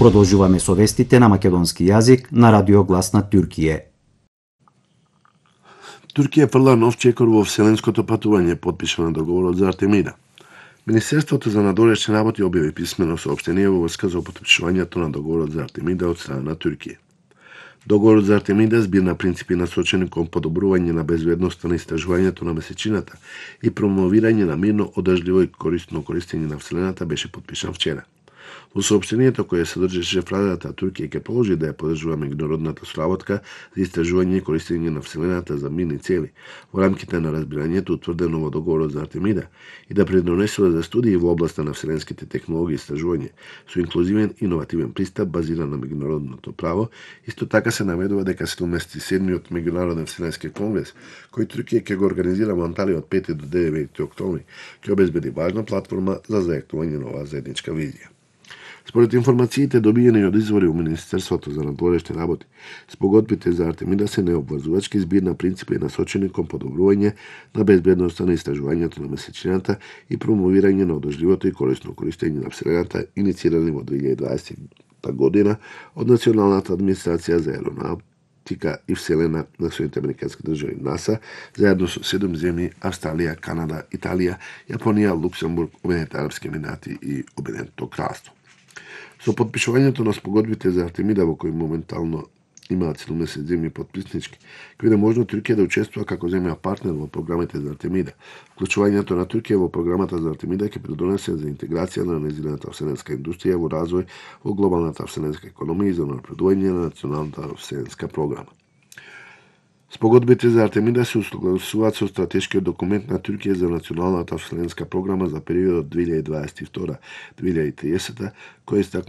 Продолжуваме со вестите на македонски јазик на Радио Глас на Туркија. Туркија фрла нов чекор во вселенското патување, потпишано договорот за Артемида. Министерството за надворешни работи објави писмено соопштение во врска за потпишувањето на договорот за Артемида од страна на Туркија. Договорот за Артемида, збир на принципи насочени кон подобрување на безбедноста на истражувањето на месечината и промовирање на мирно, одржливо и корисно користење на вселената, беше потпишан вчера. Во соопштението кое содржеше фразата Туркија ќе положи да ја поддржува меѓународната соработка за истражување и користење на вселената за мирни цели во рамките на разбирањето утврдено во договорот за Артемида и да предонесува за студии во областа на вселенските технологии и истражување со инклузивен иновативен пристап базиран на меѓународното право. Исто така се наведува дека 77-миот меѓународен вселенски конгрес, кој Туркија ќе го организира во Анталија од 5 до 9 октомври, ќе обезбеди важна платформа за зајактување на оваа заедничка визија. Според информациите добиени од извори во Министерството за надворешни работи, спогодбите за Артемида се необврзувачки, збир на принципи насочени кон подобрување на безбедноста на истражувањето на месечината и промовирање на одржливото и корисно користење на вселената, иницирани во 2020 година од Националната администрација за аеронавтика и вселена на Соединетите американски држави НАСА, заедно со 7 земји Австралија, Канада, Италија, Јапонија, Луксембург, Обединетите арапски емирати и Обединетото кралство. Со потпишувањето на спогодбите за Артемида, во кои моментално имаат 70 земји потписнички, ќе биде можно Туркија да учествува како земја партнер во програмите за Артемида. Вклучувањето на Туркија во програмата за Артемида ќе придонесе за интеграција на нејзината вселенска индустрија во развој во глобалната вселенска економија и за напредување на националната вселенска програма. Спогодбите за Артемида се усогласуваат со стратешкиот документ на Туркија за националната вселенска програма за периодот 2022-2030, кој истакнува